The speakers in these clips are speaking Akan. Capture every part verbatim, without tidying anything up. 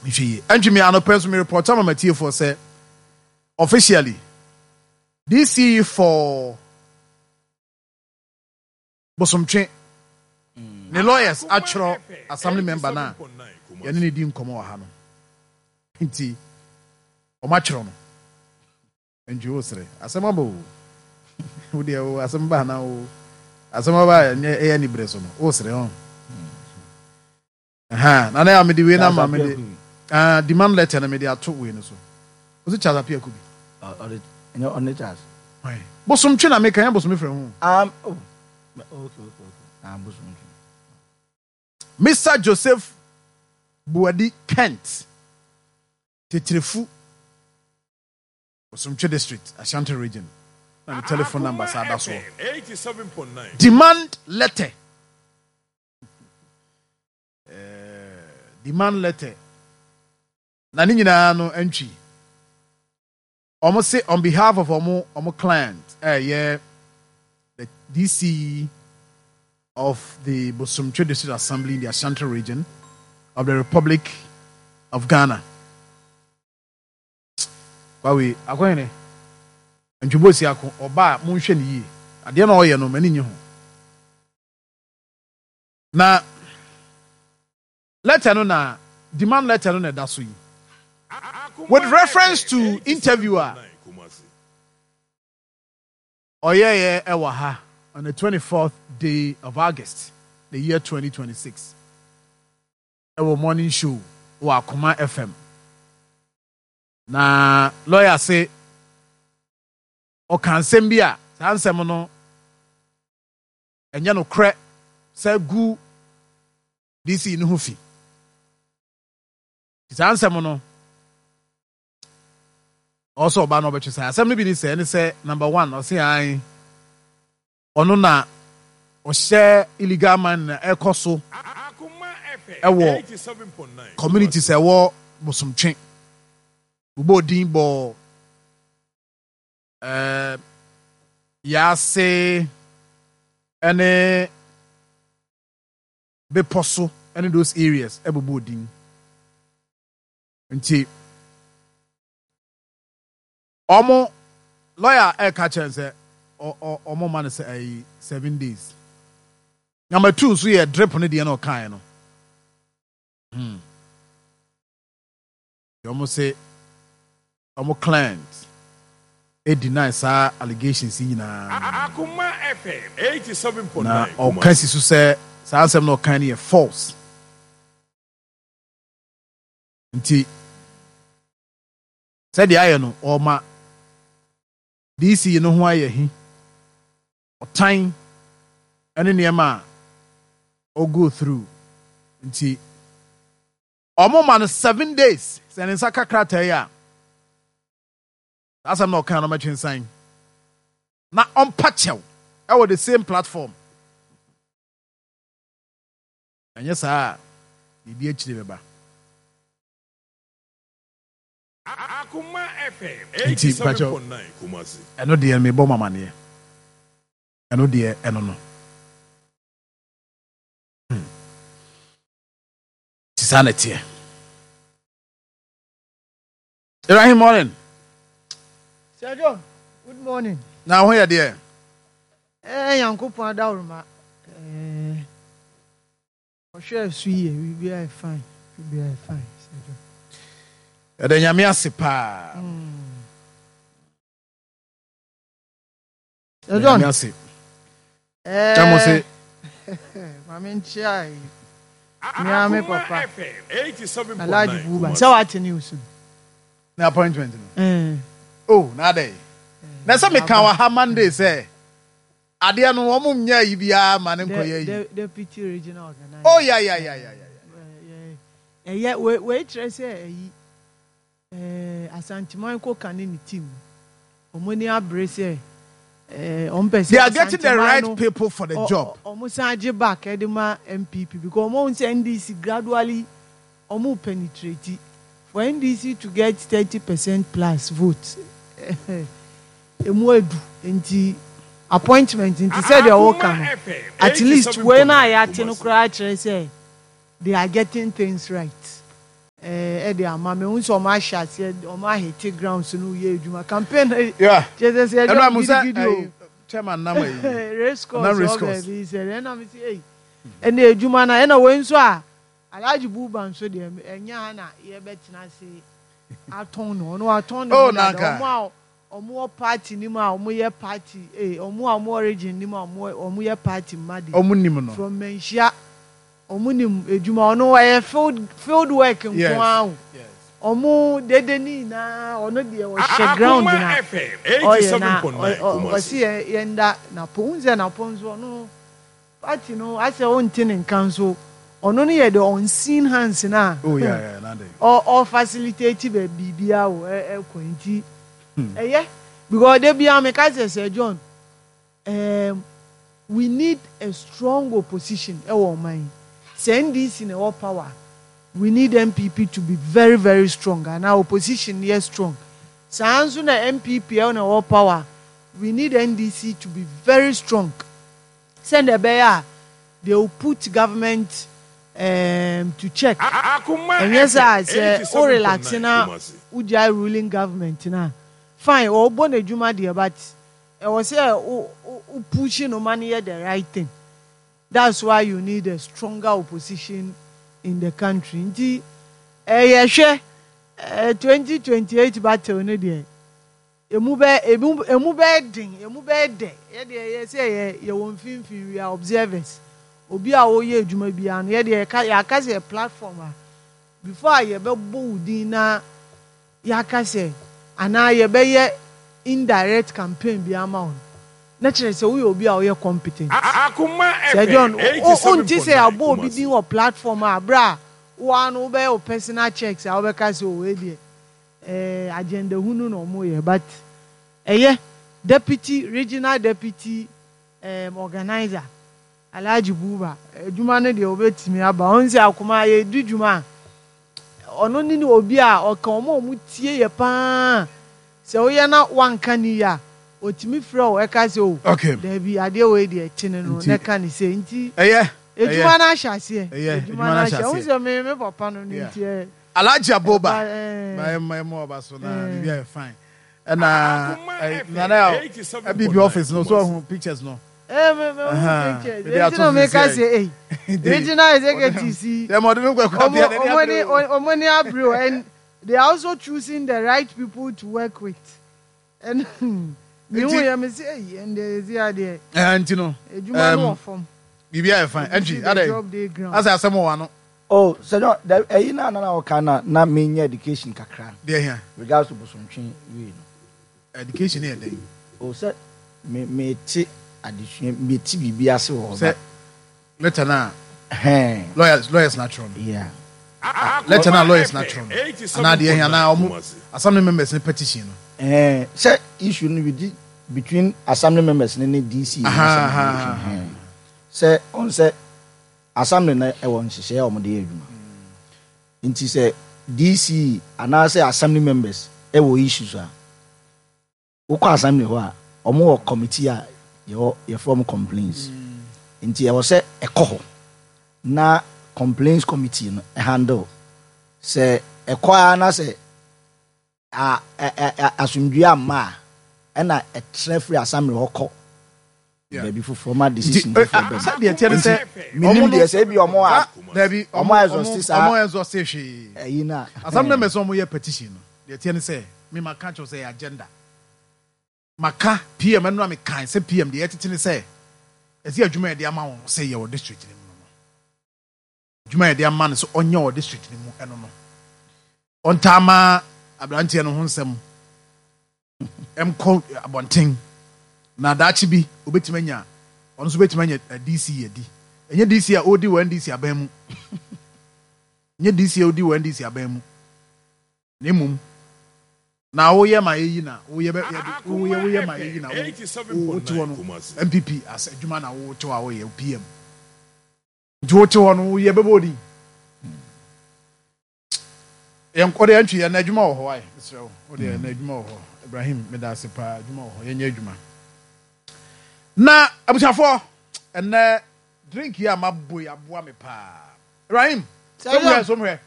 Nhwɛ yie. Ɛntwi mi anɔpɛ nso mi report ama matiefoɔ sɛ officially D C for Bosomtwe ne lawyers atwerɛ assembly member na yɛne ne di nkɔmmɔ wɔ ha no, nti ɔmo atwerɛ no. Ntwi wo sere, asɛm aba o. Wo deɛ o, asɛm ba na o, asɛm aba. Ɛnyɛ ɛyɛ ni bere so no wo sere hɔ na na yà mede wei na ma mede ah demand letter na mede ato wei no so. O si Charles Apia Kubi. Ɔde ɛnyɛ ɔne Charles. Bosomtwe na meka, yɛn bosom fɛ ho. Um, oh, okay okay okay ah, Bosomtwe. Mister Joseph Buadi Kent, Titirifu, Bosomtwe District, Ashanti Region, na ne telephone number saa da soɔ. Demand letter, eh, demand letter na ne nyinaa no ntwi. Ɔmo se on behalf of ɔmo ɔmo client, ɛyɛ the D C of the Bosomtwe District Assembly in the Ashanti Region of the Republic of Ghana. Kwawe akɔhene ntwibosi ako ɔbaa, monhwɛ ne yie. Adeɛ na ɔyɛ no, m'ani nye ho. Na letter no na demand letter no na ɛda so yi, with reference to interview a ɔyɛyɛ ɛwɔ ha on the twenty-fourth day of August, the year twenty twenty-six, ɛwɔ morning show wɔ Akoma F M. Na lawyer se ɔka nsɛm bi a saa nsɛm no ɛnyɛ nokorɛ sɛ gu D C no ho fi. Saa nsɛm no ɔsɛ ɔbaa no ɔbɛtwe saa asɛm no bi ne sɛ ɛne sɛ number one, ɔse an ɔno na ɔhyɛ illegal mining na ɛkɔ so ɛwɔ communities ɛwɔ Bosomtwe. Bobɔ odin bɔ ɛɛ Yaase ɛne Bepɔ so ɛne those areas, ɛbobɔ odin. Nti ɔmo lawyer ɛka kyerɛ sɛ ɔmo ma no sɛ ɛyi seven days. Number two nso yɛ drip no deɛ na ɔkaeɛ no. hmm ɔmo se ɔmo client deny saa allegations yi nyinaa. Akoma F M eighty-seven point nine. Na ɔka si so sɛ saa asɛm na ɔka no yɛ false. Nti sɛdeɛ ayɛ no, ɔma D C no ho ayɛ hi, ɔtan ne nneɛma a ɔgo through. Nti ɔmo ma no seven days sɛ ne nsa ka krataa yi a, saa asɛm na ɔka no, ɔmɛtwe nsan na ɔmpa kyɛw ɛwɔ the same platform. Ɛnyɛ saa a, biribi akyire bɛba. Akoma F M Nti mpakyɛw, eighty-seven point nine Kumasi. Ɛno deɛ mebɔ mo amaneɛ, ɛno deɛ ɛno no. Hmm. Nti saa na ɛteɛ. Ibrahim, morning. Sir John, good morning. Na ho yɛ deɛ? Eh, Nyankopɔn adaworoma. Eh, ɔhwɛ so yie, biribiara yɛ fine. Biribiara yɛ fine, Sir John. Ɛdɛ Nyame ase paa. Sir John. Nyame ase. Eh, Kyɛ mo se Maame nkyia yi. Nyame Akoma papa. F M eighty-seven point nine Alhaji Buba. Kumasi. Sɛ wate news no. Ne appointment no. Eh, Oh, na adɛ na sɛ meka wɔ ha Monday sɛ adeɛ no wɔn nyɛ yi biara ma ne nkɔyɛ yi. De, deputy regional organizer. Oh, ya ya ya ya ya. Ɛyɛ wei wei kyerɛ sɛ ɛyi ɛɛ Asanteman koka ne ne team, ɔmo ani abere sɛ ɛɛ ɔmo pɛ sɛ They are getting the Asanteman right no, people for the ɔ- job. ɔ- ɔmo san gye back ɛde ma N P P because ɔmo ohun sɛ N D C gradually ɔmo penetrate. For N D C to get thirty percent plus vote, emu edu. Nti appointment nti, sɛdeɛ ɔka no, at least wei na yɛate no koraa kyerɛ sɛ they are getting things right. Ɛɛ ɛde ama me. N sɛ ɔmo ahyɛ aseɛ, ɔmo ahete grounds no, yɛ adwuma campaign. Yeah. Kyerɛ sɛ ɛno a ɛyɛ mo sɛ gidigidi o. ɛyi, chairman nam ayi race course. Nam race ɔbɛ course. bi sɛ ɛna mi sɛ ɛyi, ɛna adwuma na ɛna wei nso a Alhaji Buba nso deɛ, ɛnyɛ ha na yɛbɛtena ase atɔn no, ɔno atɔn ne Oh, ho dada. nanka. Ɔmo a ɔmo wɔ party nim a ɔmo yɛ party ee, ɔmo a ɔmo wɔ region nim a ɔmo ɔmo yɛ party mma de Ɔmo nim no. From Manhyia, ɔmo nim edwuma ɔno ɛyɛ field field work nko Yes. ara o. Yes. Ɔmo dede ne nyinaa, ɔno deɛ ɔhyɛ ground Akuma na F M ɔyɛ na eighty-seven point nine ɔ- ɔ- Kumasi. Ɔsi yɛ yɛnda napo n sɛ napo nso, ɔno party no asɛ ɔnte ne nka nso, ɔno no yɛ the unseen hands na Oh yeah, yeah, na de. ɔ ɔ facilitate bɛ biribiara wɔ ɛ ɛkɔ nti ɛyɛ because de bia meka sɛ sɛ John, um, we need a strong opposition ɛwɔ ɔman yi. Sɛ N D C na ɛwɔ power, we need N P P to be very very strong and our opposition yɛ strong. Saa nso na N P P ɛwɔ na ɛwɔ power, we need N D C to be very strong sɛnɛ ɛbɛyɛ a they will put government um, to check. Akuma Ɛnyɛ sɛ a F M sɛ o relax eighty-seven point nine na Kumasi. wogyae ruling government na fine, ɔbɔ n'adwuma deɛ, but ɛwɔ sɛ o o o push no ma no yɛ the right thing. That's why you need a stronger opposition in the country. Nti ɛyɛ hwɛ ɛɛ twenty twenty eight battle no deɛ, emu bɛ emu emu bɛ den, emu bɛ dɛ. Yɛ deɛ yɛ sɛ yɛ yɛwɔ mfimfini, we are observers. Obi a wɔyɛ adwuma biara no, yɛ deɛ yɛka yɛaka sɛ yɛ platform a before a yɛbɛbɔ wo din na yɛaka sɛ anaa yɛbɛyɛ indirect campaign bi ama wo no, na kyerɛ sɛ woyɛ obi a woyɛ competent. Akuma Sɛ John, F M wo wonte sɛ eighty-seven point nine abɔ obi din Kumasi. wɔ platform a abere a woa no wobɛyɛ wo personal checks a wobɛka sɛ ɔwɔ deɛ ɛɛ agenda hunu na ɔmo yɛ, but ɛyɛ deputy regional deputy um, organizer Alhaji Buba, adwuma no deɛ wobɛtumi aba. Ɔn sɛ akoma yɛdi dwuma a, ɔno ne ne obi a ɔka ɔmo a ɔmo tie yɛ paa. Sɛ woyɛ na wanka ne yie a, otumi frɛ wo ɛka sɛ o Okay. dabi, adeɛ wei deɛ kyene no Nti- na ɛka ne sɛ nti Ɛyɛ. edwuma no ahyɛ aseɛ. Ɛyɛ, Edwuma edwuma no no ahyɛ ahyɛ wohu aseɛ. sɛ me me papa no no Yeah. nti ɛ Alhaji Aboba. ɛba, ɛɛ, Mayɛ mayɛ mo ɔba so na Eh. biribi ayɛ fine. Ɛna Akuma ɛy F M nana yà eighty-seven point nine N P P office no so Kumasi. ɔho pictures no. ɛ me me Aha. hu pictures Mede enti ato na so meka sɛ- sɛ ei, regional executive yi Dɛm ɔde mi kɔ ɛkɔ ɔmo abia n'ani ɔmo ni abere o. ɔmo ni abere o, and they are also choosing the right people to work with, and mi hu Nti- yɛ mi sɛ ei, ɛnde esi adeɛ Ɛɛ nti no edwuma no Um, wɔ fam. biribi ayɛ fine. Ɛntwi adɛ Job dey ground. asɛ asɛm wɔ ano. Oh, sɛ John, da- ɛyi na na ɔka na na menyɛ education kakra Deɛ hia. regards to Bosontwe wei no. Education yɛ dɛn? O sɛ me mete adesua, mete biribi ase wɔ hɔ. Sɛ letter na Hɛn. lawyers lawyers na atwerɛ no. Yeah. Letter na Akuma lawyers na F M atwerɛ no. Anaa deɛ hia anaa ɔmo Kumasi. assembly members ne petition no. Ɛɛ sɛ issue no bi di between assembly members ne ne D C. Aha, aha, aha. Hɛn. Sɛ ɔn sɛ assembly no ɛwɔ nhyehyɛeɛ a wɔde yɛ adwuma, nti sɛ D C anaasɛ assembly members ɛwɔ issues a, wokɔ assembly hɔ a, ɔmo wɔ committee a yɛwɔ yɛfrɛ ɔmo complaints, nti ɛwɔ sɛ ɛkɔ hɔ na complaints committee no handle. Sɛ ɛkɔ ara na sɛ a ɛ ɛ ɛ asomdue amma a, ɛna ɛtrɛ firi assembly hɔ kɔ Yeah. baabi foforɔ ma decision Nti, eh, foforɔ bɛm. sɛ deɛ teɛ ne sɛ Menim ɔmo no- deɛ sɛ ebi ɔmo a Dabi, ɔmo exhaust saa. ɔmo exhaust hwee. Ɛyi na Assembly members a ɔmo yɛ petition no, deɛ teɛ ne sɛ me ma ka kyerɛ sɛ ɛyɛ agenda maka P M ɛno a mekan sɛ P M deɛ ɛtete ne sɛ ɛsɛ adwuma yɛde ama wɔn sɛ yɛ wɔ district no mu no adwuma yɛde ama no sɛ ɔnyɛ wɔ district no mu, ɛno no ɔntaa ma aberanteɛ no ho nsɛm ɛmkɔ abɔnten na daakye bi obetumi anya, ɔno nso obetumi anya eh, D C adi. Ɛnyɛ D C a ɔdi wɔ N D C aban mu, nyɛ D C a ɔdi wɔ N D C aban mu, na mmom na woyɛ ma yɛyi na woyɛ bɛ yɛde woyɛ woyɛ ma yɛyi na wo wote hɔ no N P P as adwuma na wote hɔ a woyɛ P M, nti wote hɔ no woyɛ bɛbɔ odi yɛn ɔde yɛn twi yɛn adwuma wɔ hɔ ayɛ mesrɛ wo, ɔde yɛn adwuma wɔ hɔ. Ibrahim, meda ase paa. Adwuma wɔ hɔ, yɛnyɛ adwuma. Na abusuafoɔ, ɛnɛ drink yi a mabɔ yi aboa me paa. Ibrahim, somhwɛ, somhwɛ,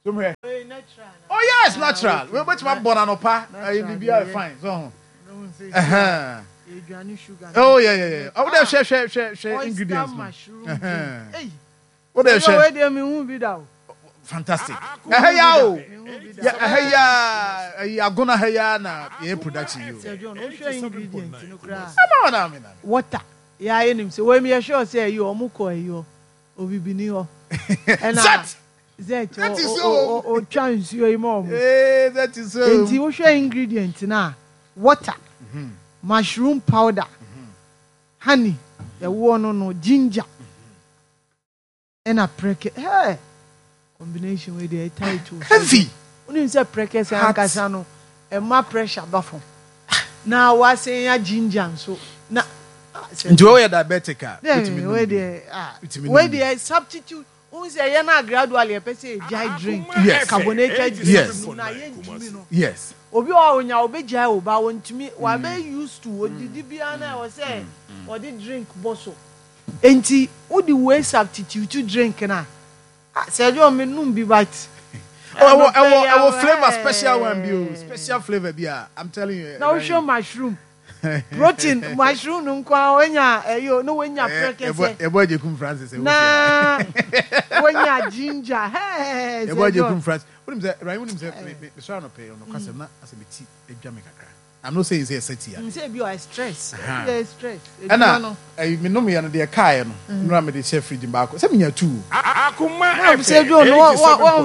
somhwɛ. natural. Oh yes, Ah, natural. okay. Wei bɛtumi abɔ no anɔpa, ɛyɛ Natural biribiara deɛ. fine so ho. Ɛhɛn. Ɛhɛn. Aduane sugar. Oh yeah yeah yeah. Oh, wode hwɛ hwɛ hwɛ hwɛ Oyster ingredients no. mushroom Ɛhɛn. drink. Ei, Wode ɛyɛ hwɛ wei deɛ mehu bi da o. fantastic. Ɛhɛ ya o. Mehu bi da. Yɛ ɛhɛ ya, ɛyi agona ha ya na yɛ production yi o. Sir John, wohwɛ ingredient no koraa. Ɛma wɔn na mi na. Water. Yɛayɛ nim sɛ wei mi yɛ sure sɛ ɛyi ɔmo kɔ ɛyi hɔ. Obibini hɔ. Ɛna Zet. Zet That is o so. o o otwa nsuo yi ma ɔmo. Ee, that is so. Nti wohwɛ ingredient na water, mushroom powder, honey, ɛwoɔ no no ginger, ɛna prɛkɛ. Hey, combination wei deɛ tight o. Heavy. Wonim sɛ prɛkɛ sɛ Heart. ankasa no ɛma pressure ba fam na wasen ya ginger nso na ah, sɛ- Nti wɔyɛ diabetic a, Yeah, wotumi nom wei bi. deɛ ah, Wotumi nom wei bi. deɛ substitute wohu sɛ yɛn a gradually yɛpɛ sɛ yɛgyae drink, Yes. carbonated drink Yes. no na yɛntumi no. Yes. Obi wɔ hɔ a onya obɛgyae o ba wɔntumi, wabɛ used to odidi biara na ɛwɔ sɛ ɔde drink bɔ so, nti wode wei substitute drink na ah, sɛ ɛdɛ ɔmo num bi but Oh, ɛwɔ ɛwɔ ɛwɔ ɛnɔpɛ flavour yɛ- special one bi o, special flavour bi a, I'm telling you. Na wohwɛ mushroom protein, mushroom no nko a wonya ɛyɛ o na wonya prɛkɛsɛ. Ɛbɔ Agyekum Francis ɛwɔ fie. Na wonya ginger hɛɛ. Ɛbɔ Agyekum Francis. Wonim sɛ Ryan, wonim sɛ me me mesɔre anɔpɛ yi ɔno kasɛm na asɛ me ti adwa me kakra. I'm not saying sɛ ɛsɛ ti a. Sɛ ebi ɔyɛ stress. Aha. Ebi ɔyɛ stress edwuma Ɛna no. ɛyi me nom yɛ no deɛ kaeɛ no nnura mede hyɛ fridge mu baako sɛ menya two. Akuma Na sɛ John, wa- wa- wa- Uh,